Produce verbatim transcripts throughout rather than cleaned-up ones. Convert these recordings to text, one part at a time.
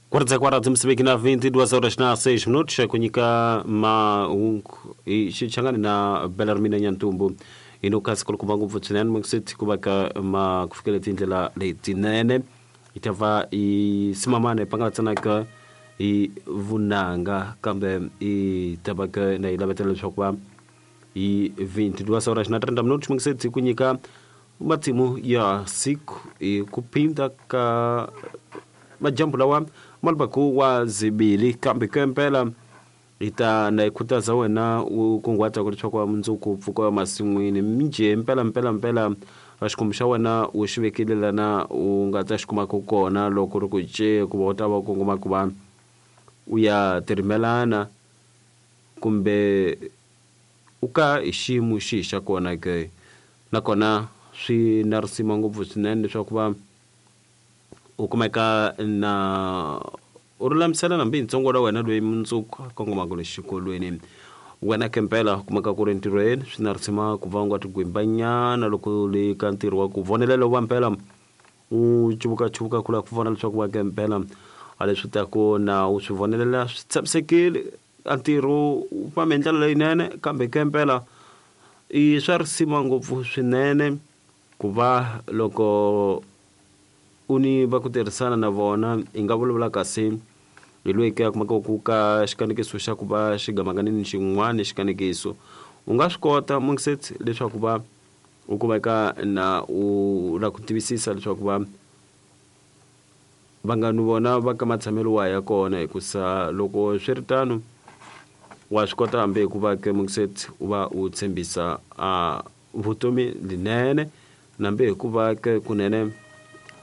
Quarta quarta Moçambique na vinte e duas horas na seis minutos kunyika mahungu hi xichangani na Belarmina Nyantumbu inokasi kulukumba ngopfu swinene mukiseti ku va ka ma ku fikela tindlela letinene yi ta va yi simamana yi pangalatsanaka hi vunanga kambe yi ta va ka na yi lavetela leswaku va hi vinte e duas horas na trinta minutos mukiseti ku nyika matimu ya siku hi ku phinda ka majambu lawa malbaku wa zibili kambe kempela ita na ikhutaza wena u kunguhata ku leswaku mundzuku pfuka wa masin'wini minjhe mpela mpela mpela xikwembu xa wena u xi vekile lana u nga ta xi kumaka kona loko ri ku ce ku va u ta va u kongoma ku va u ya tirimelana kumbe u ka hi xiyimo xihi xa kona ke nakona swi na risima ngopfu swinene leswaku va u kumeka na u lulamisela nambi ntsongo la wena loyi mundzuku a kongomaka le xikolweni wena kempela kumeka ku ri ntirhweni swi na risima ku va u nga tigwimbanyana loko le ka ntirho wa ku vonelela wa mpela u chuvukachuvuka ku lava ku vona leswaku wa kempela a leswi taku na u swi vonelela swi tshamisekile a ntirho wu fambe hi ndlela leyinene kambe kempela i swa risima ngopfu swinene ku va loko u ni va ku tirhisana na vona hi nga vulavula kasi hi loyi ke a kumaka ku ka xikanekiso xa ku va xigamanganini xin'wana xikanekiso u nga swi kota mungiseti leswaku va u kumeka na u la ku tivisisa leswaku va vanghani vona va ka matshamelo wa ya kona hikusa loko swi ri tano wa swi kota hambi hikuva ke mungiseti u va u tshembisa a vutomi linene nambe hikuva ke kunene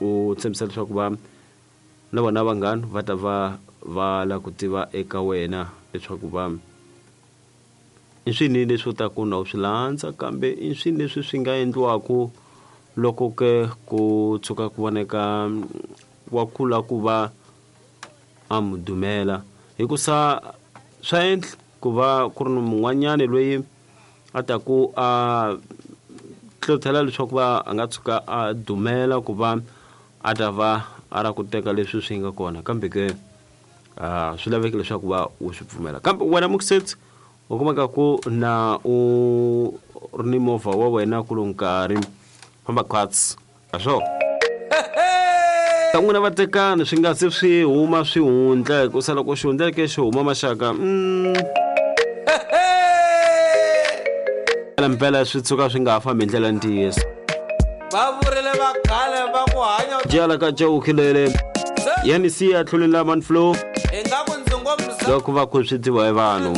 u tshembisa leswaku va na vona vanghana va ta va va la ku tiva eka wena leswaku va i swini leswi u ta ku na u swi landza kambe i swini leswi swi nga endliwaku loko ke ku tshuka ku voneka wa kula ku va a mu dumela hikusa swa endla ku va ku ri ni mun'wanyani loyi a ta ku a hlohlotela leswaku va a nga tshuka a dumela ku va a ta va a ra ku teka leswi swi nga kona kambe ke a swi laveki leswaku va u swi pfumela kambe wena mukiseti u kumeka ku na u ri ni movha wa wena ku lo nkarhi famba khwatsi a swo ta n'wina vatekani swi nga se swi huma swi hundla hikusa loko xi hundzeke xi huma maxaka mpela swi tshuka swi nga ha fambi hi ndlela ntiyiso va vurile va khale va ku hanya jala ka cawukhilele yani siya tlhulela man flow ingaku ndzi ngo loko va ku swi tiviwa hi vanhu.